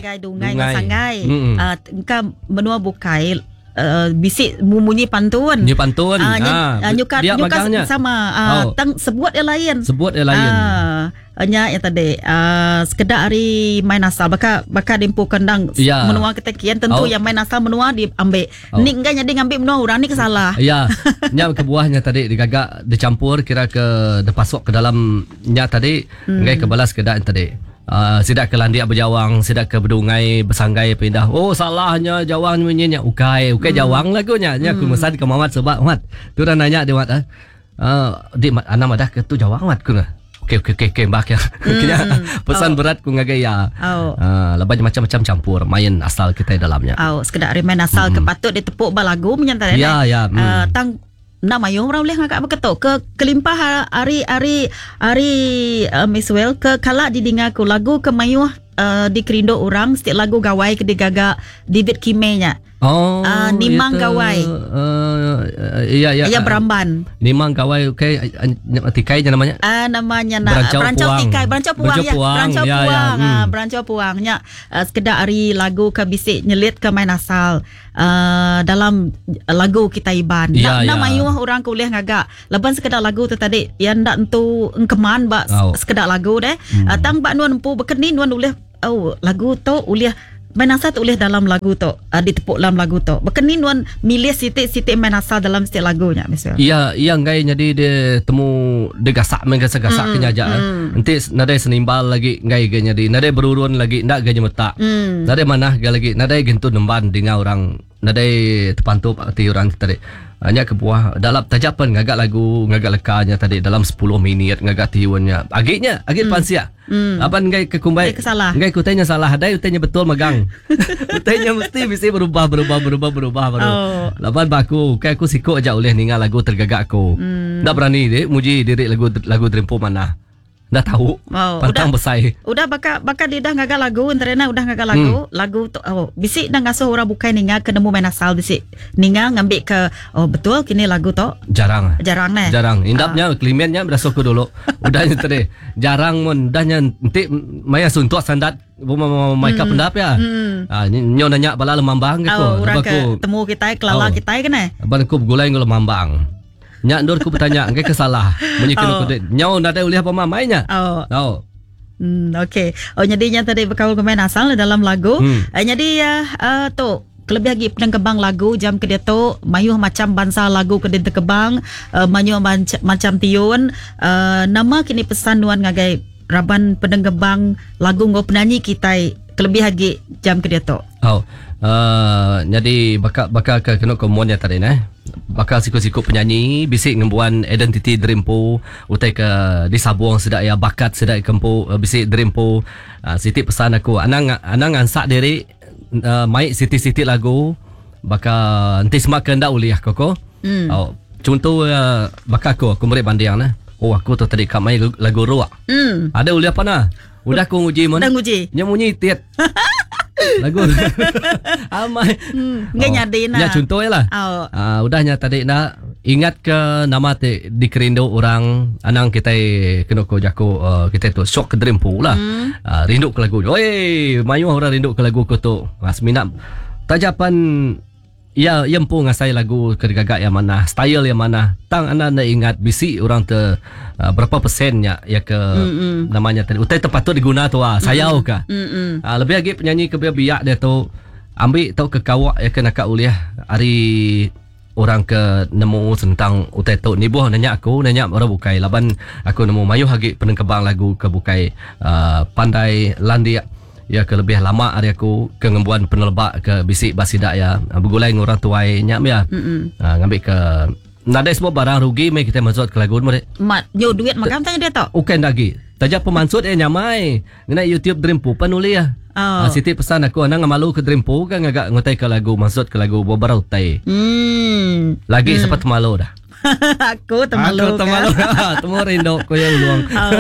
Ngagai dungai enggau sanggai. Uh, engka menua bukai uh, bisi munyi pantun. Munyi pantun. Uh, ha. Nyuka, nyuka sama. Uh, oh. Tang sebut yang lain. Sebut yang lain. Uh, nya yang tadi uh, sekedak hari main asal baka baka dimpu kendang ya. menua kita kian tentu oh. yang main asal menua diambil. Oh. Ni enggak jadi ngambil menua orang ni kesalah. Ya. Nya kebuahnya tadi digagak dicampur kira ke dipasuk ke dalam nya tadi hmm. enggai ke balas kedak tadi. Uh, sida ke landik bejawang, sida ke bedungai besanggai pindah. Oh salahnya jawang munyi nya ukai, ukai hmm. jawang lagu nya. Nya aku hmm. mesan ke Mamat sebab Mat. Tu dah nanya dia Mat. Uh, ah, di Mat ana madah ke tu jawang Mat ku. Okey okey okey okey mbak ya. Hmm. Pesan oh. berat ku ngagai ya. Oh. Uh, lepas macam-macam campur main asal kita dalamnya. Oh, sekedar main asal hmm. ke patut ditepuk ba lagu menyantai. Ya ya. Hmm. Uh, tang Enda mayuh orang ulih ngaga baka tu. Ke kelimpah ari ari ari uh, Miss Well ke kala didinga ku lagu ke mayuh uh, dikerindu orang setiap lagu gawai ke digaga David Kime nya. Oh, uh, Nimang itu, Gawai. Uh, iya iya. Iya beramban. Nimang Gawai okey tikai nya namanya. Ah uh, namanya nak Berancau, Berancau Puang. Tikai, Berancau Puang Berancau ya. Puang. Berancau ya, Puang. Ya. Hmm. Uh, Berancau Puang nya uh, sekedar ari lagu ke bisi nyelit ke main asal. uh, dalam lagu kita Iban. Ya, Nda ya. mayuh orang ke ulih ngaga. Laban sekeda lagu tu tadi ya nda entu engkeman ba Oh. sekeda lagu deh. Hmm. Uh, tang ba nuan empu bekeni nuan ulih oh lagu tu ulih main asal tu ulih dalam lagu tu uh, ditepuk dalam lagu tu. Bekeni nuan milih siti-siti main asal dalam setiap lagu nya misal. Iya, iya enggai nyadi dia temu dia gasak main gasak-gasak mm, ke nyaja. Mm. Enti nadai senimbal lagi enggai ga nyadi, nadai berurun lagi enda ga nyemetak. Mm. Nadai manah ga lagi, nadai gentu nemban dinga orang, nadai tepantup ati orang ti tadi. Ah, nya kebuah dalam taja pen ngaga lagu, ngaga leka nya tadi dalam 10 minit ngaga tiun nya. Agi nya, agi mm. pansik. Mm. Laban enggai ke kumbai Enggai ke salah. Enggai ke utai nya salah, adai utai nya betul megang. utai nya mesti bisi berubah berubah berubah berubah baru. Oh. Laban ba aku, ukai aku siku aja ulih ninga lagu tergaga aku. Mm. Enda berani dik muji diri lagu lagu Dreampo manah. Enda tau. Oh, Pantang udah, besai. Udah baka baka dia udah ngaga lagu enterena udah ngaga lagu, hmm. lagu tu oh bisi dah ngasuh orang bukai ninga ke nemu main asal bisi ninga ngambi ke oh betul kini lagu tu. Jarang. Jarang neh. Jarang. Indapnya uh. kelimennya berasuh aku dulu. Udah nya tadi. Jarang mun udah nya enti maya suntuk sandat mai ka hmm. pendap ya. Hmm. Ah nyo nanya bala lemambang ke oh, orang ke temu kita kelala oh. kita ke neh. Ban aku begulai enggau lemambang. Nya endur ku betanya enggai ke salah. Munyi kena oh. ku nyau nadai ulih apa mamai nya. Oh. Oh. Okey. Oh jadi nya tadi bekaul ke main asal dalam lagu. Hmm. Jadi uh, tu kelebih lagi penengkebang lagu jam ke diatu mayuh macam bansa lagu ke ditengkebang uh, mayuh macam tiun uh, nama kini pesan nuan ngagai raban penengkebang lagu enggau penyanyi kitai kelebih lagi jam ke diatu. Oh. Uh, jadi baka baka ke kena ke nya tadi neh. Baka siku-siku penyanyi bisi ngembuan identiti derimpu utai ke disabung sida ya bakat sida ke empu bisi derimpu. Uh, siti pesan aku anang anang ngansak diri uh, mai siti-siti lagu baka enti sema ke enda ulih ko ko. Hmm. Oh, contoh uh, baka aku aku meri banding neh. Oh aku tu tadi ka mai lagu ruak. Hmm. Ada ulih apa nah? Udah aku nguji mun. Udah nguji. Nya munyi tit. Lagu amai. Hmm, ngai nyadi nah. Ya contoh lah. Oh. Uh, udahnya tadi nak ingat ke nama ti dikerindu orang anang kita kena ko jaku uh, kita tu sok ke dreampu lah. Hmm. Uh, rindu ke lagu. Oi, mayuh orang rindu ke lagu ko tu. Uh, semina tajapan Ya, ya empu ngasai lagu ke digagak yang mana, style yang mana. Tang anda anda ingat bisi orang te uh, berapa persennya ya ke Mm-mm. namanya tadi. Utai terpatut diguna tu ah, sayau ka. Mm-mm. Lebih lagi penyanyi ke biak dia tu ambil tau ke kawak ya ke nakak ulih hari orang ke nemu tentang utai tu nibuh nanya aku nanya orang bukai laban aku nemu mayuh lagi penengkebang lagu ke bukai uh, pandai landik ya ke lebih lama hari aku ke ngembuan penelebak ke bisi basidak ya begulai dengan orang tuai nya ya Mm-mm. Ngambil ke nadai semua barang rugi mai kita masuk ke lagu ni Mat, nyo duit makan tanya dia tok. Bukan lagi. Taja pemansut eh nyamai. Ngena YouTube Dreampu pan ulih ya. Oh. Siti pesan aku anang malu ke Dreampu kan ngagak ngutai ke lagu masuk ke lagu beberapa utai. Hmm. Lagi hmm. sempat malu dah. Aku termalu. Aku termalu. Temu rindu ko yang luang. Oh.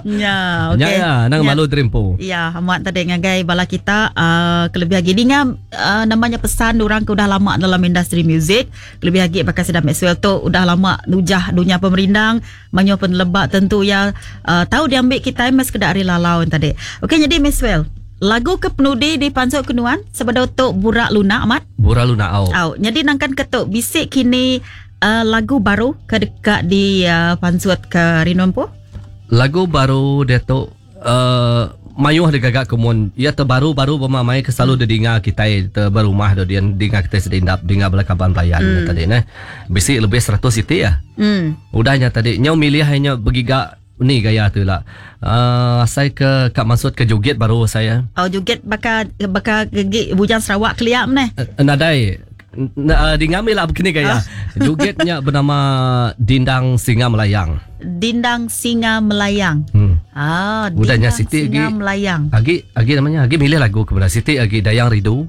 Ya, okey. Ya, ya, nang Ya. malu Dreampu. Ya, amat tadi ngagai bala kita uh, kelebih lagi ninga uh, namanya pesan orang ke udah lama dalam industri muzik, kelebih lagi bakal sedang Maxwell tu udah lama nujah dunia pemerindang, manyo penelebak tentu ya uh, tahu diambil kita mas kedak ari lalau tadi. Okey, jadi Maxwell, Lagu ke penudi dipansut ke nuan sebedau tu Burak Lunak amat? Burak Lunak au. Au, nyadi nangkan ke tu bisi kini uh, lagu baru ke deka dipansut uh, ke Rino empu? Lagu baru dia tu uh, mayuh digaga ke mun. Ia terbaru-baru bema mai ke selalu didinga kitai te berumah tu dia dinga kitai sedindap dinga bala kaban belayan mm. tadi neh. Bisi lebih 100 iti ya. Mm. Udahnya tadi nyau milih nya begiga Ni gaya tu ila. Uh, asai ke ka maksud ke joget baru saya. Oh joget baka baka gegi bujang Sarawak kelia meh. Uh, nadai. Uh, di ngambil lah begini gaya. Joget nya bernama Dindang Singa Melayang. Dindang Singa Melayang. Hmm. Ah, Udah nya Siti Singa agi, Melayang. Agi agi namanya agi milih lagu ke Siti agi Dayang Ridu.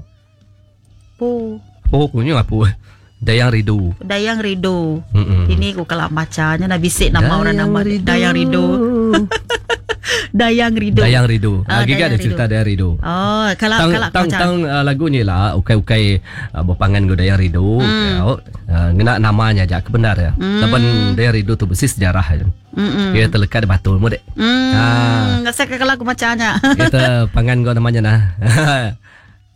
Po. Po ku nyu apu. Dayang Ridu. Dayang Ridu. Mm-mm. Ini ku kalau macanya nak bisik nama Dayang orang nama Ridu. Dayang Ridu. Dayang Ridu. Dayang Ridu. Ah, Lagi kan ada cerita Dayang Ridu. Oh, kalau tang, kalau tang tang uh, lagu ni lah ukai-ukai uh, berpangan go Dayang Ridu. Mm. Uh, ngena namanya aja kebenar ya. Mm. Laban Dayang Ridu tu besi sejarah ya. Mm-mm. Dia terlekat di batu mu dek. Mm. Ha. Rasa kalau aku macanya. Kita pangan go namanya nah.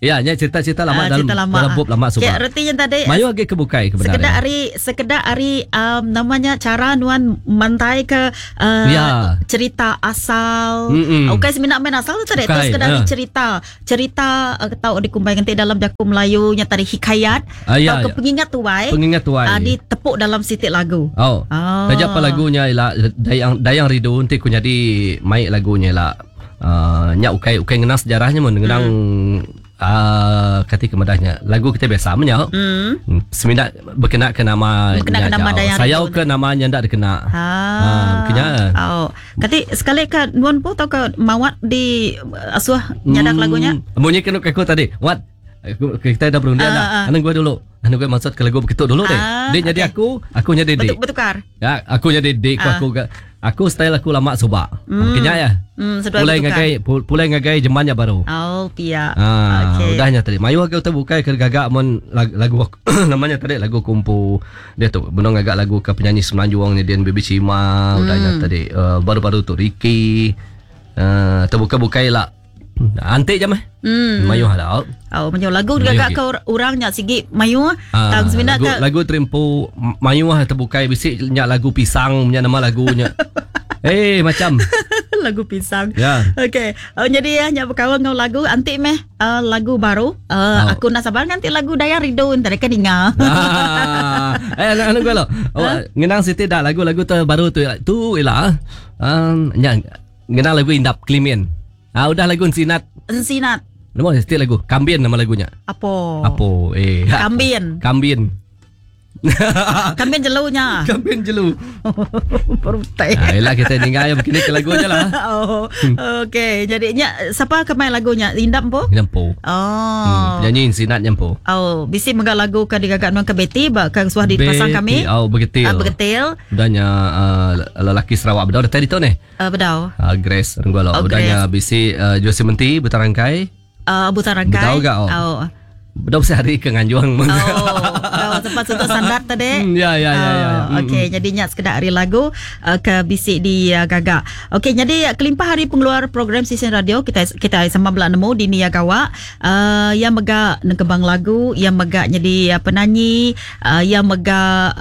Ya, nya cerita-cerita lama uh, dalam cerita lama. dalam bup lama suba. Ya, retinya tadi. Mayu agi ke bukai ke Sekedar hari sekedar hari um, namanya cara nuan mantai ke uh, ya. cerita asal. Mm-mm. Ukai semina main asal tu tadi, tu sekedar ya. cerita. Cerita uh, tau dikumbai nganti dalam jaku Melayu nya tadi hikayat uh, ya, atau ke ya. pengingat tuai. Pengingat tuai. Uh, ditepuk dalam sitik lagu. Oh. oh. Taja apa lagunya ialah Dayang Dayang Ridu nanti ku jadi mai lagunya ialah uh, nya ukai ukai ngenang sejarahnya mun ngenang mm. Kati kemadahnya lagu kita biasa menya mm. Semina berkena ke nama berkena ke nama Dayang sayau ke namanya ndak dikena ha, ha berkena oh kati sekali ke nuan po tau ke mawat di asuh nyadak lagunya bunyi kena aku tadi wat kita dah berunding dah anu gua dulu anu gua maksud ke lagu begitu dulu deh dia jadi aku aku jadi dik bertukar ya aku jadi dik aku aku style aku lama subak. Mm. Kenya ya. Pulai ngagai pulai ngagai jemannya baru. Oh, pia. Ah, okay. Udahnya tadi. Mayu agak terbukai ke gagak mon lagu, lagu namanya tadi lagu kumpu. Dia tu benong agak lagu ke penyanyi Semenanjung ni Dian Baby Cima, udahnya tadi uh, baru-baru tu Ricky. Terbuka-bukai lah. Antik je meh. Mayu ada. Oh, mayu lagu gagak ke orangnya sigi mayu. Tang semina ke lagu terimpu mayu ah terbukai bisik nyak lagu pisang punya nama lagunya. Eh macam lagu pisang. Ya. Okey. Oh, jadi ya nyak berkawan dengan lagu antik meh uh, lagu baru. Uh, oh. Aku nak sabar nanti lagu Dayang Ridu entar kan inga. Ah. Eh anu gua lo. Oh, ngenang siti dah lagu-lagu terbaru tu tu ialah nyak ngenang lagu Indap Klimin. Ah udah lagu Ensinat. Ensinat. Nama setiap lagu Kambin nama lagunya. Apa? Apa? Eh. Kambin. Kambin. Kambin jelunya. Kambin jelu. Perutai. Ah, yalah kita dengar yang begini ke lagunya lah. Oh. Okey, jadinya siapa ke main lagunya? Indap po? Indap po. Oh. Penyanyi Ensinat nyampo. Oh, bisi megak lagu ke digagak nuan ke Betty ba ke suah dipasang kami. Oh, begitil. Begitil. Udahnya lelaki Sarawak bedau tadi tu ni. Bedau. Grace Renggolo. Oh, udahnya bisi Jose Menti Butarangkai. Butarangkai. Bedau gak? Oh. Bedau sehari ke Nganjuang. Oh, kau sempat untuk sandar tadi. Ya ya ya ya. Okey, jadinya sekedar hari lagu ke bisik di gagak. Okey, jadi kelimpah hari pengeluar program Sisen Radio kita kita sama belak nemu di Nia Gawak yang megak nengkebang lagu, yang megak jadi penyanyi, yang megak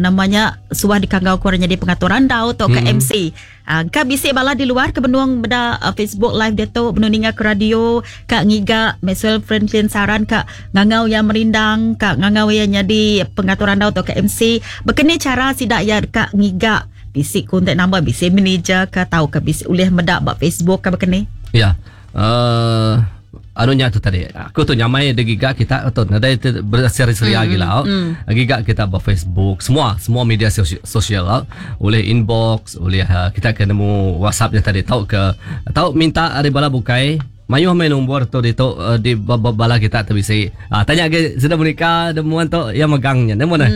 namanya suah dikanggau kurang jadi pengaturan dau atau ke MC. Ka bisik bala di luar ke benuang beda Facebook live dia tu benung ninga ke radio ka ngiga Maxwell Franklin Saran ka ngangau yang merindang ka ngangau yang jadi pengaturan dau atau ke MC berkena cara sidak ya ka ngiga bisik kontak number bisik manager ka tau ka bisik ulih medak bak Facebook ka berkena ya. Anunya tu tadi aku tu nyamai de giga kita atau nadai berseri-seri lagi lah. Giga kita ba Facebook semua media sosial oleh inbox oleh kita kena nemu WhatsApp yang tadi tau ke tau minta ari bala bukai mayuh main nombor tu di tu di bala kita tu bisi tanya ke sudah menikah demuan tu yang megangnya nemu nah.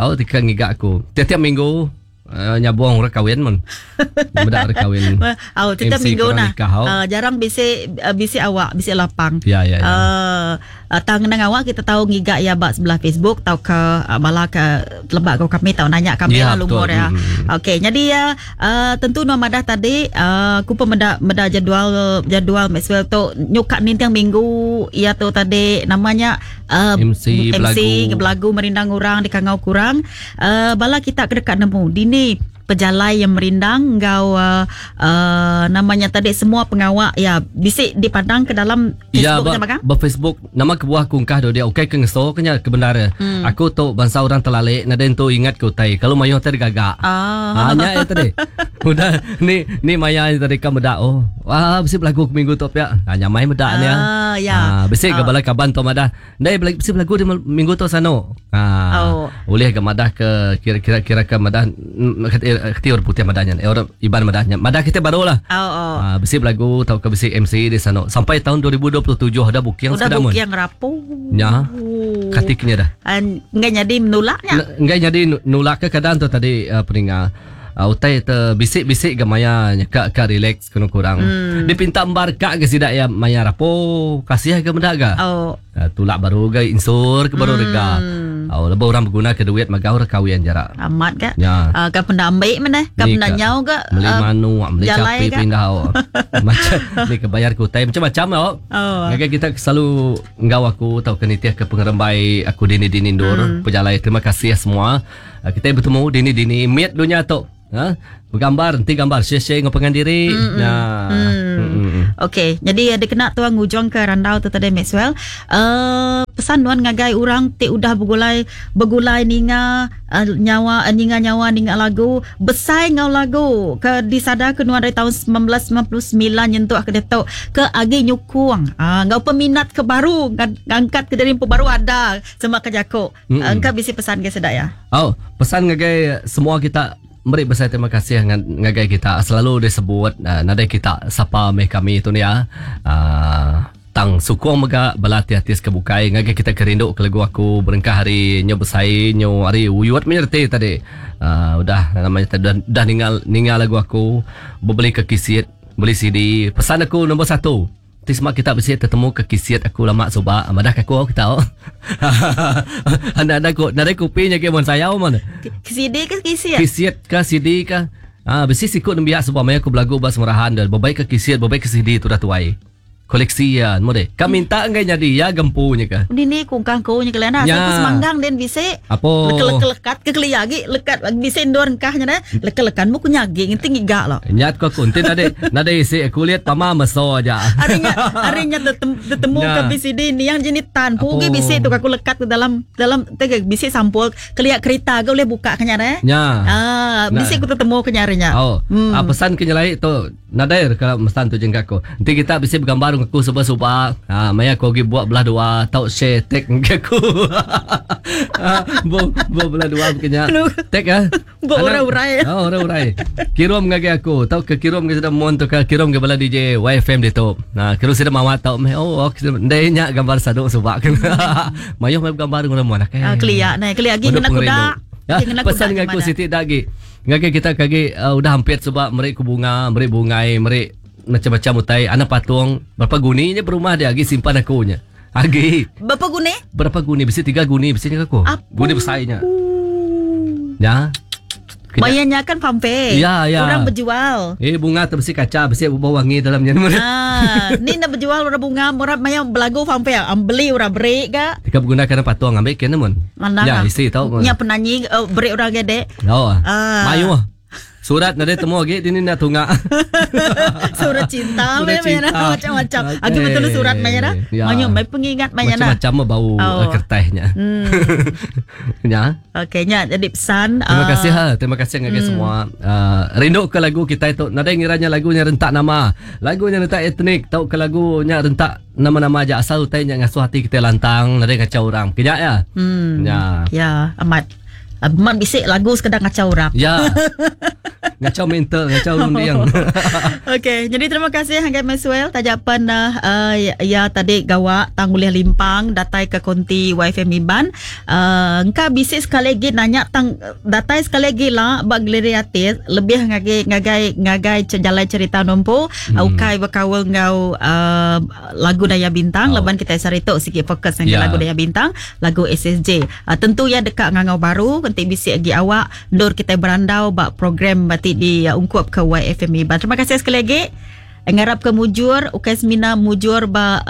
Oh tika ngiga aku tiap-tiap minggu. Nyabong orang kawin mun. Meda orang kawin. Au tiap minggu nah. Jarang bisi bisi awak, bisi lapang. Ya ya ya. Tang ngenang awak kita tau ngiga iya ba sebelah Facebook tauka bala ke teleba enggau kami tau nanya kami lah lumur iya. Okey nyadi iya tentu nuan madah tadi aku pun meda meda jadual jadual Maxwell tu nyuka ninting minggu iya tu tadi nama nya MC MC belagu merindang orang dikangau ke orang. Bala kita ke deka nemu dini pejalai iya merindang enggau nama nya tadi semua pengawa iya bisi dipandang ke dalam Ya Facebook ba nya mega. ba Facebook nama kebuah aku engkah dudi ukai ke ngeso ke nya ke bendar iya. Aku tu bansa orang telalik nadai entu ingat ke utai kalu mayuh utai digaga. Ah. Ha nya iya tadi. Udah ni ni maya iya tadi ka meda oh wah bisi belagu ke minggu tu pia. Ha nyamai meda nya. Ah ya. Ha bisi ga bala kaban tu madah Ndai bela bisi belagu di minggu tu sanu. Ha. Oh. Ulih ga madah ke kira-kira kira ke madah keti orang putih madah nya. Orang Iban madah nya. Madah kita baru lah. Oh, oh. Ha, bisi belagu tau ke bisi MC di sanu. Sampai tahun 2027 dah booking Udah sekeda mun. booking rapu. Nya. Kati kenya dah. Enggai nyadi menulak nya. Enggai nyadi nulak ke keadaan tu tadi uh, peninga. Uh, utai te bisi-bisi ga maya nya ka ka relax Kenu kurang. Hmm. Dipinta embar ka ke sida ya maya rapo kasih ke meda ga. Oh. Tulak baru ga insur ke baru hmm. rega. Oh, lebuh orang beguna ke duit magau ra kawin jara. Amat ga. Ya. Ka penda ambi meneh, ka penda nyau ga. Beli uh, manu, beli capi pindah. Oh. Macam ni ke bayar ke utai macam-macam oh. Oh. Ngagai kita selalu enggau aku tau ke nitih ke pengerembai aku dini-dini endur hmm. pejalai. Terima kasih semua. Kita bertemu dini-dini mit dunia tu. Ha? Begambar enti gambar share-share enggau pangan diri. Mm-mm. Nah. Mm. Mm-mm. Okey, jadi dikena tuan ngujung ke randau tu tadi Maxwell. Pesan nuan ngagai orang ti udah begulai begulai ninga uh, nyawa uh, ninga nyawa ninga lagu besai enggau lagu ke disada ke nuan dari tahun 1999 nyentuk ke diatu ke agi nyukung uh, enggau peminat ke baru ngangkat ke diri empu baru ada sema ke jaku. Engka bisi pesan ke sida ya. Au, pesan ngagai semua kita meri besai terima kasih ngagai kita selalu disebut nadai kita sapa meh kami tu nia. Tang sukung mega bala artis-artis ke bukai ngagai kita ke rindu ke lagu aku berengkah ari nyu besai nyu ari uyut meh reti tadi. Udah nama nya tadi udah ninga ninga lagu aku bebeli ke kisit beli CD. Pesan aku nombor satu. Ti sema kita bisi tetemu ke kisit aku lama suba madah ke aku kita. Anda anda ku nadai kopi nya ke mun sayau mun. CD ke kisit? Kisit ke CD ke. Ah bisi siku nembiak suba maya aku belagu ba Semerahan deh bebai ke kisit bebai ke CD tudah tuai. Koleksi iya nemu deh. Ka minta enggai nyadi iya gempu nya ke. Dini ku engkah ku nya kelian asal ku semanggang din bisi. Apo. Leka lekat ke kelia agi lekat bisi endur engkah nya deh. Leka lekan mu ku nyagi ngenti ngiga lo. Nyat ko aku enti nadai nadai isi kulit pama meso aja. Ari nya ari nya tetemu ke BCD niang jeni tan pu agi bisi tu aku lekat ke dalam dalam te bisi sampul kelia kerita ga ulih buka ke nya deh. Nya. Aaa bisi ku tetemu ke nya ari nya. Oh. Hmm. Pesan ke nyelai tu nadai ke mesan tu jengka aku. Enti kita bisi begambar enggau aku suba-suba, ha, maya aku agi buat belah dua tau share tag enggai aku. Ha, bu bu belah dua baka nya. Tag ah. Ba orang urai. Oh, orang urai. Kirum ngagai aku tauka kirum ngagai sida mun tauka kirum ngagai bala DJ YFM ditu. Nah, kirum sida mawat tau meh. Oh, ok ndai nya gambar sadu suba ke. Mayuh meh gambar nguna mun akai. Ah, kelia nai, kelia agi ngena kuda. Ya, pesan ngagai aku siti da agi. Ngagai kita ke agi uh, udah ampit suba meri ku bunga, meri bungai, meri macam-macam utai, anak patung, berapa guni nya berumah dia agi simpan aku nya. Agi. Berapa guni? Berapa guni? Bisi tiga guni bisi nya aku. Guni besai nya. Ya. Maya nya kan fampe. Ya, ya. Orang berjual. Eh bunga tu besi kaca, besi bau wangi dalam nya. Ah, ni nak berjual orang bunga, orang maya belagu fampe, am beli orang beri ga. Tika berguna kena patung ambil kena mun. Mana? Ya, isi tau. Nya penanyi uh, beri orang gede. Oh. Ah. Mayuh. Surat nadai temu agi dini enda tunga. Surat cinta Surat meh cinta. macam-macam. Okey. Agi betul surat meh nya. Ya. Mayuh meh pengingat meh nya. Macam-macam meh bau Oh. kertas nya. Hmm. Nya. Okey nya jadi pesan. Terima ah, kasih ha, terima kasih ngagai semua. Rindu ke lagu kitai tu. Nadai ngira nya lagu nya rentak nama. Lagu nya rentak etnik tauka lagu nya rentak nama-nama aja asal utai nya ngasuh ati kitai lantang nadai ngachau orang. Ke nya ya. Hmm. Nya. Ya, amat. Man bisi lagu sekeda ngachau orang. Ya. Ngachau mental, ngachau runding. Okey, jadi terima kasih ngagai Maxwell taja pen uh, ya tadi gawa tang ulih limpang datai ke konti YFM Iban. Engka bisi sekali lagi nanya tang datai sekali lagi lah ba galeri artis lebih ngagai ngagai ngagai jalai cerita nompu ukai bekaul enggau lagu Daya Bintang oh. laban kita sehari tu sigi fokus ngagai yeah. lagu Daya Bintang, lagu SSJ. Tentu ya deka ngangau baru enti bisi agi awak endur kita berandau ba program ti di ungkup ke YFM Iban. Terima kasih sekali lagi. Ngarap ke mujur ukai semina mujur ba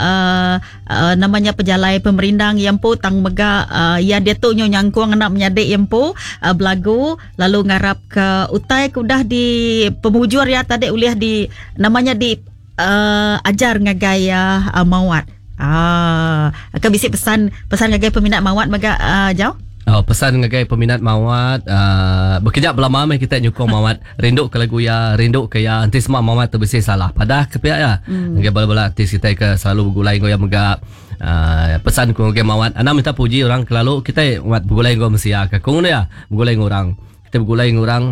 namanya pejalai pemerindang iya empu tang mega iya diatu nyu nyangkung ngena menyadi iya empu belagu lalu ngarap ke utai ke udah di pemujur iya tadi ulih di namanya di ajar ngagai Mawat. Ke bisi pesan pesan ngagai peminat Mawat mega Jau? Oh, pesan ngagai peminat Mawat, bekeja belama meh kita nyukung Mawat. Rindu ke lagu iya, rindu ke iya. Enti semua Mawat tu bisi salah, padah ke pia iya. Ngagai bala-bala artis kitai ke selalu begulai enggau iya mega. Pesan ku ngagai Mawat, anang minta puji orang kelalu kitai Mawat begulai enggau mensia ke. Ku nguna iya, begulai enggau orang. Kitai begulai enggau orang,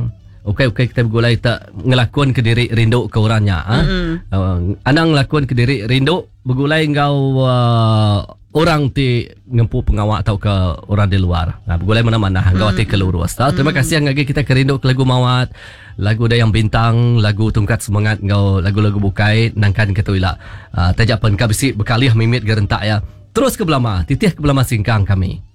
ukai ukai kitai begulai te ngelakun ke diri rindu ke orang nya. Anang ngelakun ke diri rindu begulai enggau orang ti ngempu pengawa tauka orang di luar. Ha, begulai manah-manah enggau ati ke lurus. Ha, terima kasih ngagai kita ke rindu ke lagu Mawat, lagu Dayang Bintang, lagu Tungkat Semangat enggau lagu-lagu bukai nangkan ke tu ila. Ha, taja pen ka bisi bekalih mimit ga rentak iya. Terus ke belama, titih ke belama singkang kami.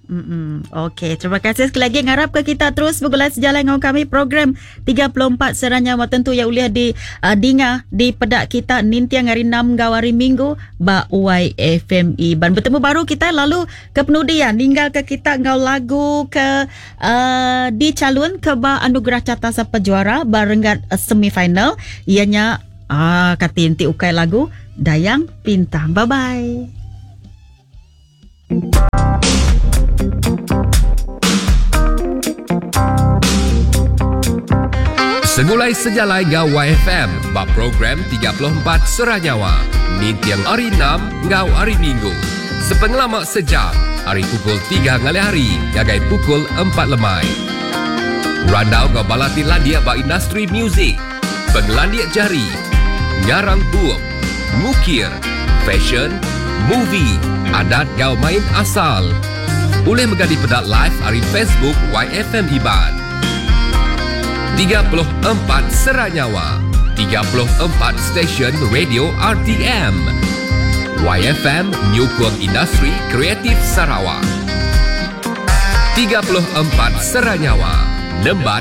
Okey, terima kasih sekali lagi ngarap ke kita terus begulai sejalai enggau kami program 34 Seranya Nyawa tentu ya ulih di uh, dinga di peda kita ninting hari 6 enggau hari Minggu ba YFME. Ban bertemu baru kita lalu ke penudi ya ninggal ke kita enggau lagu ke uh, dicalon ke ba Anugerah Carta Sapa Juara ba renggat uh, semifinal ianya ah uh, kati enti ukai lagu Dayang Pintang. Bye bye. Segulai sejalai enggau YFM ba program 34 Serah Nyawa ninting hari 6 enggau hari Minggu. Sepengelama sejam ari pukul 3 ngalih hari ngagai pukul 4 lemai. Randau enggau bala ti landik ba industri muzik, pengelandik jari, ngarang bup, ngukir, fashion, movie, adat enggau main asal. Ulih mega dipeda live ari Facebook YFM Iban. 34 Sera Nyawa, 34 stesen radio RTM. YFM nyukung industri kreatif Sarawak. 34 Sera Nyawa, nemban.